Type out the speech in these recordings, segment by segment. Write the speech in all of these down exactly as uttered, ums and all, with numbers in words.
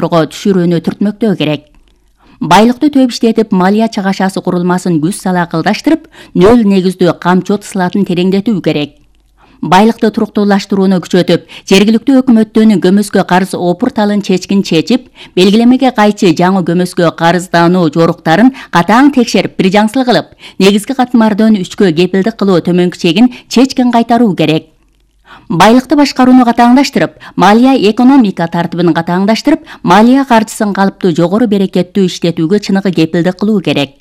түшүрүүнү түртмөктөө керек. Байлыкты төп иштетип, малия чыгашасы курулмасын күч сала кылдаштырып, нөл негиздүү камчы сылатын тереңдетүү керек. Байлыкты туруктуулаштырууну күчөтүп, жергиликтүү өкмөттүн көмөскө карыз опурталын чечкин чечип, белгилемеге кайчы жаңы көмөскө карыздануу жоруктарын катаң текшерип, бир жаңсыл кылып, негизги катмардан үчкө кепилдик кылуу төмөнкү чегин чечкин кайтаруу керек. Байлыкты башкарууну катаңдаштырып, малия экономика тартибин катаңдаштырып, малия каржысын калыптуу жогору берекеттүү иштетүүгө чыныгы кепилдик кылуу керек.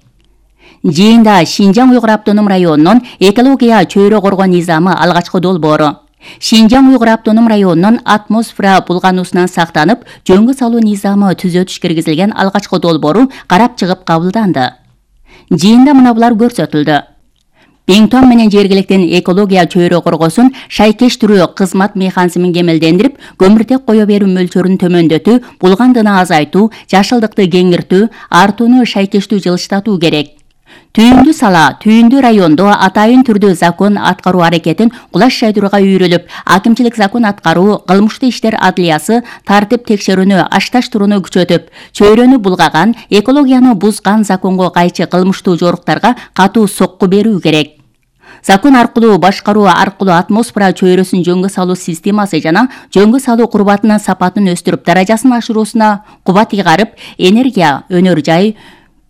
Жыйында Шинжаң Уйгур автоном районунун экология чөйрө коргоо низамы алгачкы долбоору. Шинжаң Уйгур автоном районунун атмосфера булгануусунан сактанып, жөнгө салуу низамы түзөтүш киргизилген алгачкы долбоору карап чыгып кабылданды. Жыйында мына булар көрсөтүлдү. Пиңтон менен жергиликтин экология чөйрө коргоосун шайкештирүү кызмат механизмин кемелдендирип, көмүртек кое берүү мөлчөрүн төмөндөтүү, булгандыгын азайтуу, жашылдыкты кеңиртүү, артууну шайкештүү жылыштатуу керек. Түйүндү сала, Түйүндү райондо атайын түрдө закон аткаруу аракетин кулаш жайдырууга үйрөлүп, акимчилик закон аткаруу, кылмыштуу иштер адлиясы тартип текшерүүнү ашташтырууну күчөтүп, чөйрөнү булгаган, экологияны бузган законго кайчы кылмыштуу жоруктарга катуу сокку берүү керек. Закон аркылуу башкаруу аркылуу атмосфера чөйрөсүн жөнгө салуу системасы жана жөнгө салуу курбатынын сапатын өстүрүп, даражасын ашыруусуна кубат ыйгарып, энергия, өнөр жай,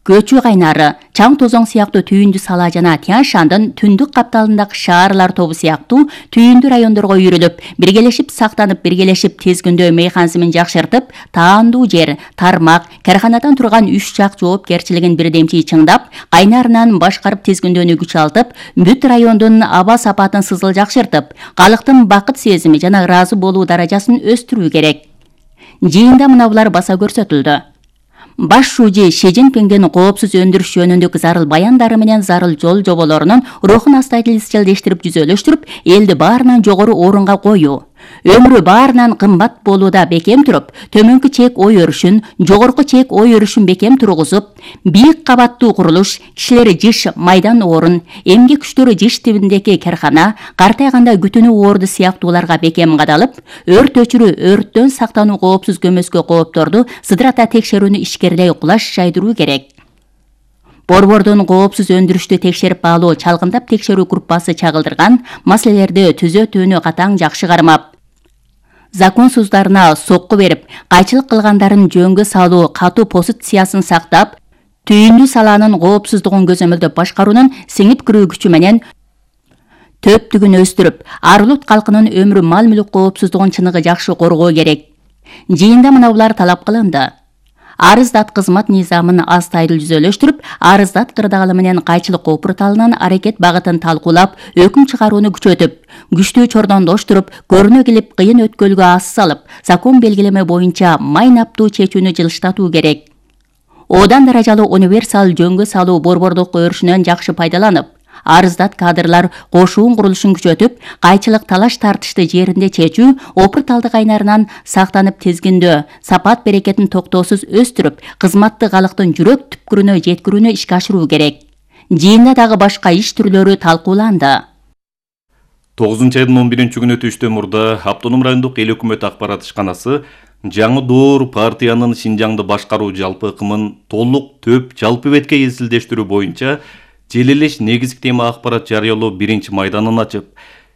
көчүү кайнары, чаң тозоң сыяктуу Түйүндү сала жана Тянь-Шандын түндүк капталындагы шаарлар тобу сыяктуу Түйүндү райондорго үйрөлүп, биргелешип сактанып, биргелешип тезгүндөө механизмин жакшыртып, таандуу жер, тармак, карханадан турган үч жак жоопкерчилигин бирдемчи чыңдап, кайнарынан башкарып тезгүндөөнү күчалтып, бүт райондун аба сапатын сызыл жакшыртып, калктын бакыт сезими жана ыраазы болуу даражасын өстүрүү керек. Жыйында мына булар баса көрсөтүлдү. Баш шужи Ши Цзиньпиңдин коопсуз өндүрүш жөнүндөгү зарыл баяндары менен зарыл жол жоболорунун рухун астайыл изчилдештирип, жүзөлөштүрүп, элди баарынан жогору орунга коюу. Өмүрү баарынан кымбат болууда бекем туруп, төмөнкү чек ой өрүшүн, жогорку чек ой өрүшүн бекем тургузуп, бийик кабаттуу курулуш, кишилери жыш майдан орун, эмгек күчтөрү жыш тибиндеги кархана, картайганда күтүнүү орду сыяктууларга бекем кадалып, өрт өчүрүү, өрттөн сактануу коопсуз көмөскө коопторду сыдырата текшерүүнү ишкерлей кулаш жайдыруу керек. Борбордун коопсуз өндүрүштү текшерип алуу чалгындап текшерүү группасы чагылдырган маселелерди түзөтүүнү катаң жакшы кармап, законсуздарына сокку берип, кайчылык кылгандарын жөнгө салуу катуу позициясын сактап, Түйүндү саланын коопсуздугун көзөмөлдөп башкаруунун сиңип кирүү күчү менен төптүгүн өстүрүп, Ар-Улут калкынын өмүрү, мал-мүлүк коопсуздугун чыныгы жакшы коргоо керек. Жыйында мына булар талап кылынды. Арыздат кызмат низамын астайыл жүзөлөштүрүп, арыздат кырдаалы менен кайчылык опурталынын аракет багытын талкуулап, өкүм чыгарууну күчөтүп, күчтүү чордондоштуруп, көрүнө келип, кыйын өткөлгө ас салып, закон белгилеме боюнча майнаптуу чечүүнү жылыштатуу керек. Одан даражалуу универсал жөнгө салуу борбордук өрүшүнөн жакшы пайдаланып, арыздат кадрлар кошуун курулушун күчөтүп, кайчылык талаш тартышты жеринде чечүү, опурталды кайнарынан сактанып тезгиндөө, сапат берекетин токтоосуз өстүрүп, кызматты калктын жүрөк түпкүрүнө жеткирүүнү ишке ашыруу керек. Жыйында дагы башка иш түрлөрү талкууланды. тогузунчу айдын он биринчи күнү түштөн мурда Автоном райондук эл өкмөт акбарат ишканасы жаңы доор партиянын Шинжаңды башкаруу жалпы ыкымын толук төп жалпы бетке эсилдештирүү боюнча желелеш негизги тема акбарат жарыялоо биринчи майданын ачып,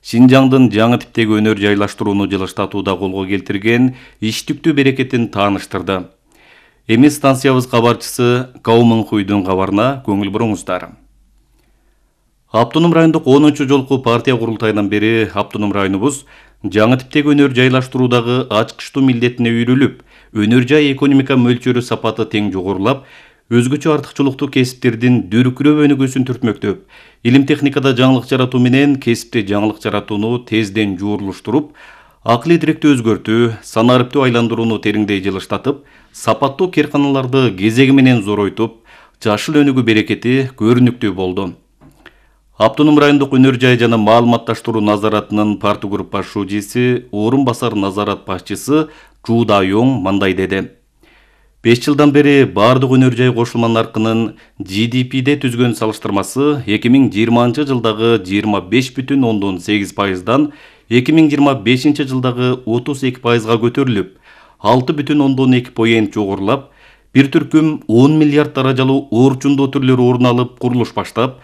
Шинжаңдын жаңы типтеги өнөр жайлаштырууну жылыштатууда колго келтирген иштиктүү берекетин тааныштырды. Эми станциябыз кабарчысы Каумын Хуйдун кабарына көңүл буруңуздар. Автоном райондук онунчу жолку партия курултайынан бери Автоном районубуз жаңы типтеги өнөр жайлаштыруудагы ачкычтуу милдетине үйрөлүп, өнөр жай экономика мөлчөрү сапаты тең жогорулап, өзгөчө артыкчылыктуу кесиптердин дүркүрөп өнүгүүсүн түртмөктөп, илим техникада жаңылык жаратуу менен кесипте жаңылык жаратууну тезден жуурулуштуруп, акылый тиректи өзгөртүү, санариптүү айландырууну тереңдей жылыштатып, сапаттуу керканаларды кезеги менен зоройтуп, жашыл өнүгүү берекети көрүнүктүү болду. Автоном райондук өнөр жай жана маалыматташтыруу назаратынын партгрупп баш шужиси, орун басар назарат башчысы Чу Дайоң мындай деди. беш жылдан бери бардык өнөр жай кошулма наркынын Джи Ди Пиде түзгөн салыштырмасы эки миң жыйырманчы жылдагы жыйырма беш бүтүн ондон сегиз пайыздан эки миң жыйырма бешинчи жылдагы отуз эки пайызга көтөрүлүп, алты бүтүн ондон эки поент жогорулап, бир түркүм он миллиард даражалуу орчундуу түрлөр орун алып, курулуш баштап,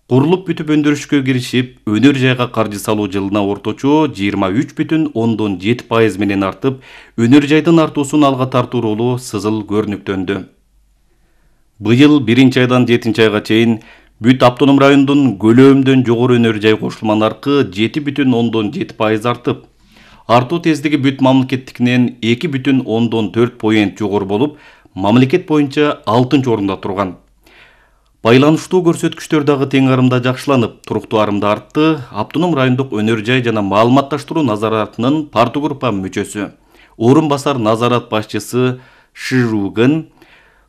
курулуп бүтүп өндүрүшкө киришип, өнөр жайга каржы салуу жылына орточо жыйырма үч бүтүн ондон жети пайыз менен артып, өнөр жайдын артуусун алга тартуу ролу сызыл көрүнүктөндү. Быйыл биринчи айдан жетинчи айга чейин бүт автоном райондун көлөмдөн жогору өнөр жай кошулма наркы жети бүтүн ондон жети пайыз артып, артуу тездиги бүт мамлекеттикинен эки бүтүн ондон төрт поент жогору болуп, мамлекет боюнча алтынчы орунда турган. Байланыштуу көрсөткүчтөр дагы тең арымда жакшыланып, туруктуу арымда артты. Автоном райондук өнөр жай жана маалыматташтыруу назаратынын партогруппа мүчөсү, орун басар назарат башчысы Шижугын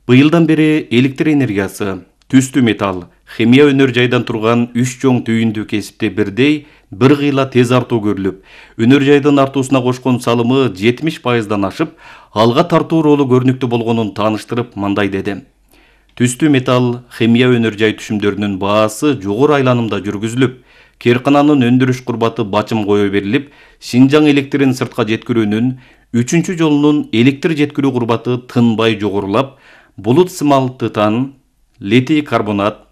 быйылдан бери электр энергиясы, түстүү металл, химия өнөр жайдан турган үч чоң түйүндүү кесипте бирдей бир кыйла тез артуу көрүлүп, өнөр жайдын артуусуна кошкон салымы жетимиш пайыздан ашып, алга тартуу ролу көрүнүктүү болгонун тааныштырып мындай деди. Түстүү металл, химия өнөр жай түшүмдөрүнүн баасы жогору айланымда жүргүзүлүп, керкананын өндүрүш курбаты бачым кое берилип, Шинжаң электрин сыртка жеткирүүнүн үчүнчү жолунун электр жеткирүү курбаты тынбай жогорулап, булут сымал тытан, литий карбонат,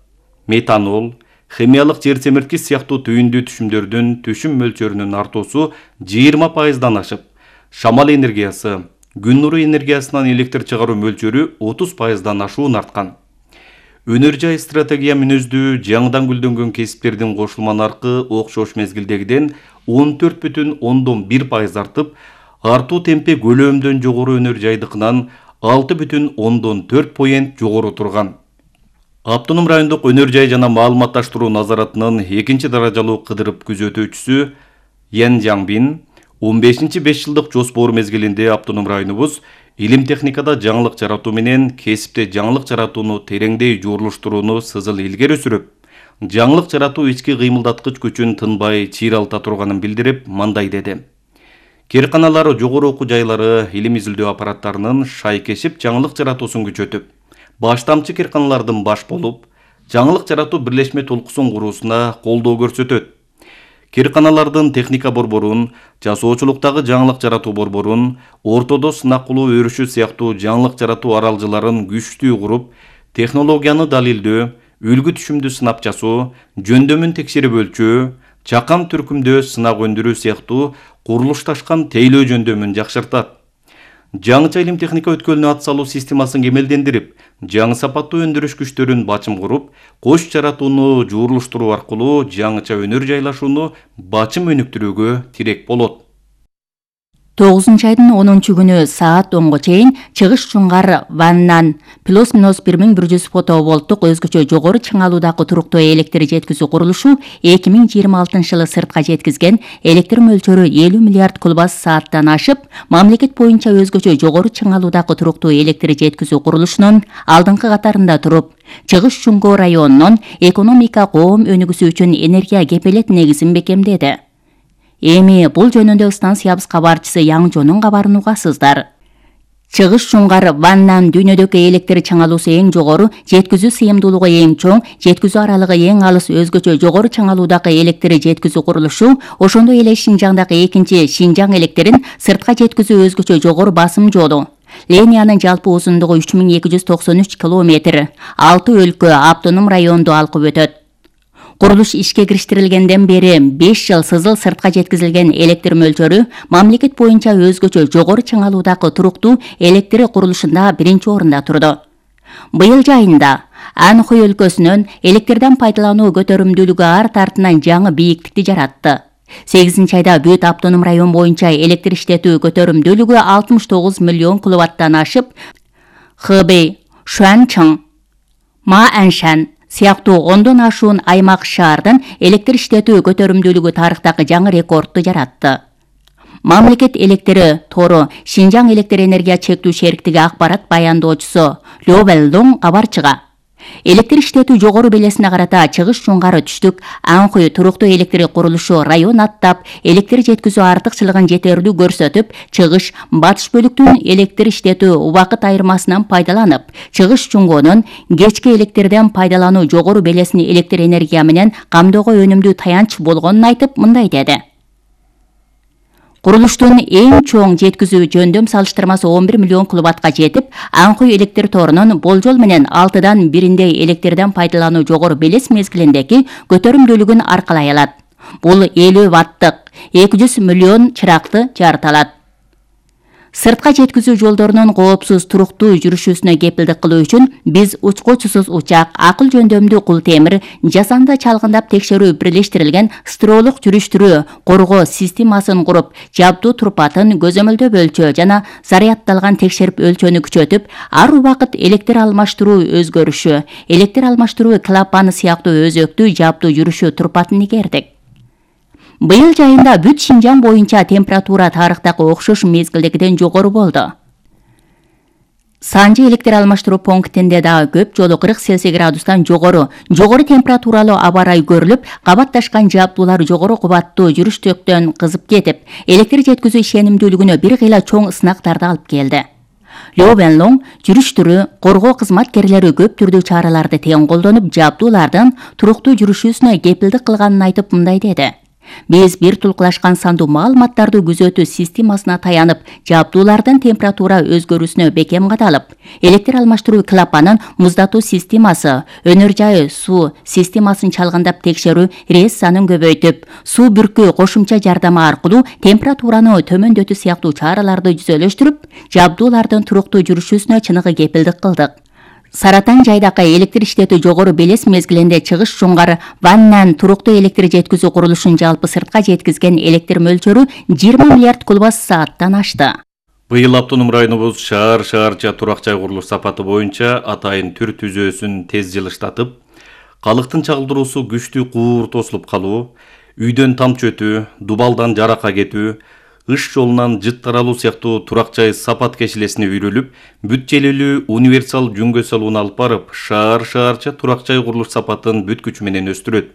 метанол, химиялык жер семирткич сыяктуу түйүндүү түшүмдөрдүн түшүм мөлчөрүнүн артуусу жыйырма пайыздан ашып, шамал энергиясы, күн нуру энергиясынан электр чыгаруу мөлчөрү отуз пайыздан ашуун арткан. Өнөр жай стратегия мүнөздүү жаңыдан гүлдөнгөн кесиптердин кошулма наркы окшош мезгилдегиден он төрт бүтүн ондон бир пайыз артып, артуу темпи көлөмдөн жогору өнөр жайдыкынан алты бүтүн ондон төрт поент жогору турган. Автоном райондук өнөр жай жана маалыматташтыруу назаратынын экинчи даражалуу кыдырып күзөтүүчүсү Ян Жаңбин он бешинчи беш жылдык жоспор мезгилинде автоном районубуз илим техникада жаңылык жаратуу менен кесипте жаңылык жаратууну тереңдей жуурулуштурууну сызыл илгери сүрүп, жаңылык жаратуу ички кыймылдаткыч күчүн тынбай чыйралта турганын билдирип, мындай деди. Керканалар, жогору окуу жайлары илим изилдөө аппараттарынын шайкешип жаңылык жаратуусун күчөтүп, баштамчы керканалардын баш болуп, жаңылык жаратуу бирлешме толкусун куруусуна колдоо көрсөтөт. Керканалардын техника борборун, жасоочулуктагы жаңылык жаратуу борборун, ортодо сынак кылуу өрүшү сыяктуу жаңылык жаратуу аралжыларын күчтүү куруп, технологияны далилдөө, үлгү түшүмдү сынап жасоо, жөндөмүн текшерип өлчөө, чакан түркүмдөө сынак өндүрүү сыяктуу курулушташкан тейлөө жөндөмүн жакшыртат. Жаңыча илим техника өткөлүнө ат салуу системасын кемелдендирип, жаңы сапаттуу өндүрүш күчтөрүн бачым куруп, кош жаратууну жуурулуштуруу аркылуу жаңыча өнөр жайлашууну бачым өнүктүрүүгө тирек болот. тогузунчу айдын онунчу күнү саат онго чейин Чыгыш Чуңгар Ваннан плюс минус бир миң бир жүз фотоволттук өзгөчө жогору чыңалуудагы туруктуу электр жеткизүү курулушу эки миң жыйырма алтынчы жылы сыртка жеткизген электр мөлчөрү элүү миллиард куб сааттан ашып, мамлекет боюнча өзгөчө жогору чыңалуудагы туруктуу электр жеткизүү курулушунун алдыңкы катарында туруп, Чыгыш Чуңгар районунун экономика коом өнүгүүсү үчүн энергия кепелет негизин бекемдеди. Эми бул жөнүндө станциябыз кабарчысы Яңжонун кабарын угасыздар. Чыгыш Чуңгар Ваннан дүйнөдөгү электр чыңалуусу эң жогору, жеткизүү сыйымдуулугу эң чоң, жеткизүү аралыгы эң алыс өзгөчө жогору чыңалуудагы электр жеткизүү курулушу, ошондой эле Шинжаңдагы экинчи Шинжаң электрин сыртка жеткизүү өзгөчө жогору басым жолу. Линиянын жалпы узундугу үч миң эки жүз токсон үч километр, алты өлкө автоном районду алкып өтөт. Курулуш ишке кириштирилгенден бери беш жыл сызыл сыртка жеткизилген электр мөлчөрү мамлекет боюнча өзгөчө жогору чыңалуудагы туруктуу электр курулушунда биринчи орунда турду. Быйыл жайында Анхой өлкөсүнөн электрден пайдалануу көтөрүмдүүлүгү арт артынан жаңы бийиктикти жаратты. сегизинчи айда бүт автоном район боюнча электр иштетүү көтөрүмдүүлүгү алтымыш тогуз миллион киловаттан ашып, Хэбэй, Шуанчың, Мааншан сыяктуу ондон ашуун аймак шаардын электр иштетүү көтөрүмдүүлүгү тарыхтагы жаңы рекордду жаратты. Мамлекет электри тору Шинжаң электр энергия чектүү шериктиги акбарат баяндоочусу Лё Вэлдоң кабарчыга электр иштетүү жогору белесине карата Чыгыш Чуңгар түштүк Анхой туруктуу электр курулушу район аттап, электр жеткизүү артыкчылыгын жетерлүү көрсөтүп, Чыгыш батыш бөлүктүн электр иштетүү убакыт айырмасынан пайдаланып, Чыгыш Чуңгонун кечки электрден пайдалануу жогору белесин электр энергия менен камдоого өнүмдүү таянч болгонун айтып, мындай деди. Курулуштун эң чоң жеткизүү жөндөм салыштырмасы он бир миллион киловаттка жетип, Аңкый электр торунун болжол менен алтыдан бириндей электрден пайдалануу жогору белес мезгилиндеги көтөрүмдүүлүгүн аркалай алат. Бул элүү ваттык эки жүз миллион чыракты жарыта алат. Сыртка жеткизүү жолдорунун коопсуз туруктуу жүрүшүсүнө кепилдик кылуу үчүн биз учкучусуз учак, акыл жөндөмдүү кул темир, жасанды чалгындап текшерүү бирлештирилген строолук жүрүштүрүү коргоо системасын куруп, жабдуу турпатын көзөмөлдөп өлчөө жана заряддалган текшерип өлчөнү күчөтүп, ар убакыт электр алмаштыруу өзгөрүшү, электр алмаштыруу клапаны сыяктуу өзөктүү жабдуу жүрүшү турпатын игердик. Быйыл жайында бүт Шинжаң боюнча температура тарыхтагы окшош мезгилдегиден жогору болду. Санжы электр алмаштыруу пунктинде дагы көп жолу кырк Цельсий градустан жогору, жогору температуралуу аба ырайы көрүлүп, кабатташкан жабдуулар жогору кубаттуу жүрүштөктөн кызып кетип, электр жеткизүү ишенимдүүлүгүнө бир кыйла чоң сынактарды алып келди. Лёвенлоң жүрүштүрүү коргоо кызматкерлери көп түрдүү чараларды тең колдонуп, жабдуулардын туруктуу жүрүшүсүнө кепилдик кылганын айтып мындай деди. Биз бир тулкулашкан сандуу маалыматтарды күзөтүү системасына таянып, жабдуулардын температура өзгөрүүсүнө бекем кадалып, электр алмаштыруу клапанын муздатуу системасы, өнөр жайы суу системасын чалгындап текшерүү рессанын көбөйтүп, суу бүркүү кошумча жардамы аркылуу температураны төмөндөтүү сыяктуу чараларды жүзөлөштүрүп, жабдуулардын туруктуу жүрүшүсүнө чыныгы кепилдик кылдык. Саратан жайдакы электр иштетүү жогору белес мезгилинде чыгыш жуңгары ваннан туруктуу электр жеткизүү курулушун жалпы сыртка жеткизген электр мөлчөрү жыйырма миллиард кубат сааттан ашты. Быйыл автоном районубуз шаар шаарча турак жай курулуш сапаты боюнча атайын түр түзөөсүн тез жылыштатып, калктын чагылдыруусу күчтүү куур тосулуп калуу, үйдөн тамчы өтүү, дубалдан жарака кетүү, ыш жолунан жыт таралуу сыяктуу турак жай сапат кешилесине үйрөлүп, бүт желелүү универсал жөнгө салууну алып барып, шаар шаарча турак жай курулуш сапатын бүт күчү менен өстүрөт.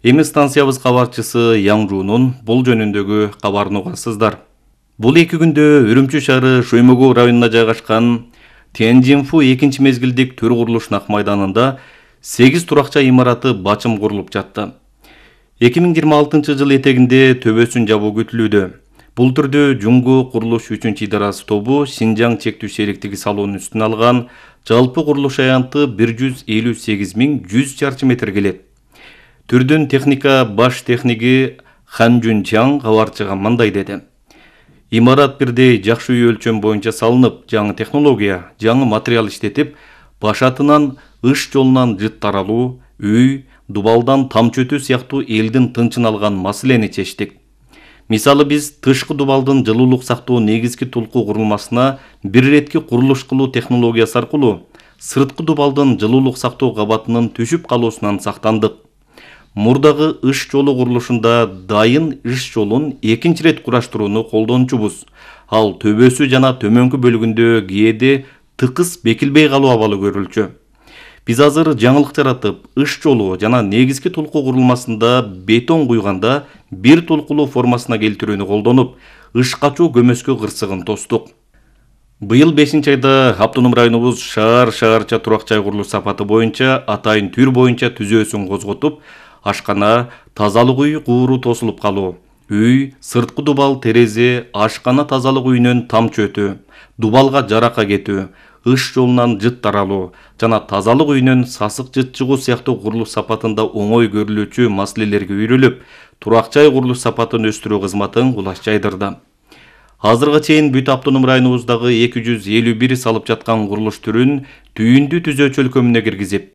Эми станциябыз кабарчысы Яңжуунун бул жөнүндөгү кабарын угасыздар. Бул эки күндө Үрүмчү шаары Шоймогоо районуна жайгашкан Тяньжинфу экинчи мезгилдик төр курулуш нак майданында сегиз турак жай имараты бачым курулуп жатты. эки миң жыйырма алтынчы жыл этегинде төбөсүн жабуу күтүлүүдө. Бул түрдө Жуңго курулуш үчүнчү идарасы тобу Шинжаң чектүү сериктиги салуунун үстүнө алган жалпы курулуш аянты бир жүз элүү сегиз миң жүз чарчы метр келет. Түрдүн техника баш техниги Хан Жунчаң кабарчыга мындай деди. Имарат бирдей жакшы үй өлчөм боюнча салынып, жаңы технология, жаңы материал иштетип, башатынан ыш жолунан жыт таралуу, үй, дубалдан тамчы өтүү сыяктуу элдин тынчын алган маселени чечтик. Мисалы биз тышкы дубалдын жылуулук сактоо негизги тулкуу курулмасына бир иретки курулуш кылуу технологиясы аркылуу сырткы дубалдын жылуулук сактоо кабатынын түшүп калуусунан сактандык. Мурдагы ыш жолу курулушунда дайын ыш жолун экинчи ирет кураштырууну колдончубуз. Ал төбөсү жана төмөнкү бөлүгүндө кээде тыкыз бекилбей калуу абалы көрүлчү. Биз азыр жаңылык жаратып, ыш жолу жана негизги тулкуу курулмасында бетон куйганда бир тулкулуу формасына келтирүүнү колдонуп, ыш качуу көмөскө кырсыгын тостук. Быйыл бешинчи айда автоном районубуз шаар шаарча турак жай курулуш сапаты боюнча атайын түр боюнча түзөөсүн козготуп, ашкана, тазалык үй кууру тосулуп калуу, үй, сырткы дубал, терезе, ашкана тазалык үйүнөн тамчы өтүү, дубалга жарака кетүү, ыш жолунан жыт таралуу жана тазалык үйүнөн сасык жыт чыгуу сыяктуу курулуш сапатында оңой көрүлүүчү маселелерге үйрөлүп, турак жай курулуш сапатын өстүрүү кызматын кулаш жайдырды. Азырга чейин бүт автоном районубуздагы эки жүз элүү бир салып жаткан курулуш түрүн түйүндү түзөөчү өлкөмүнө киргизип,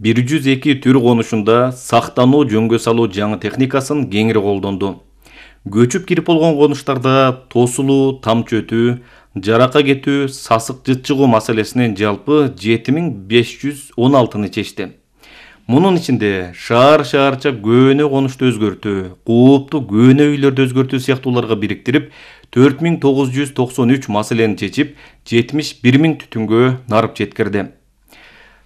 бир жүз эки түр конушунда сактануу жөнгө салуу жаңы техникасын кеңири колдонду. Көчүп кирип болгон конуштарда тосулуу, тамчы өтүү, жарака кетүү, сасык жыт чыгуу маселесинен жалпы жети миң беш жүз он алтыны чечти. Мунун ичинде шаар шаарча көөнө конушту өзгөртүү, куупту көөнө үйлөрдү өзгөртүү сыяктууларга бириктирип, төрт миң тогуз жүз токсон үч маселени чечип, жетимиш бир миң түтүнгө нарып жеткирди.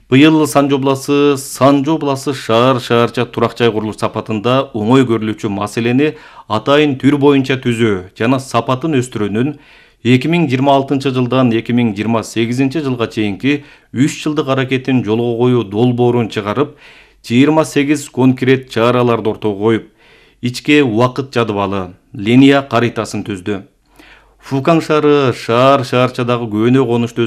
Быйыл Санжы обласы Санжы обласы шаар шаарча турак жай курулуш сапатында оңой көрүлүүчү маселени атайын түр боюнча түзөө жана сапатын өстүрүүнүн эки миң жыйырма алтынчы жылдан эки миң жыйырма сегизинчи жылга чейинки үч жылдык аракетин жолго коюу долбоорун чыгарып, жыйырма сегиз конкрет чараларды ортого коюп, ичке убакыт жадыбалы, линия каритасын түздү. Фукан шаары шаар шаарчадагы көөнө конушту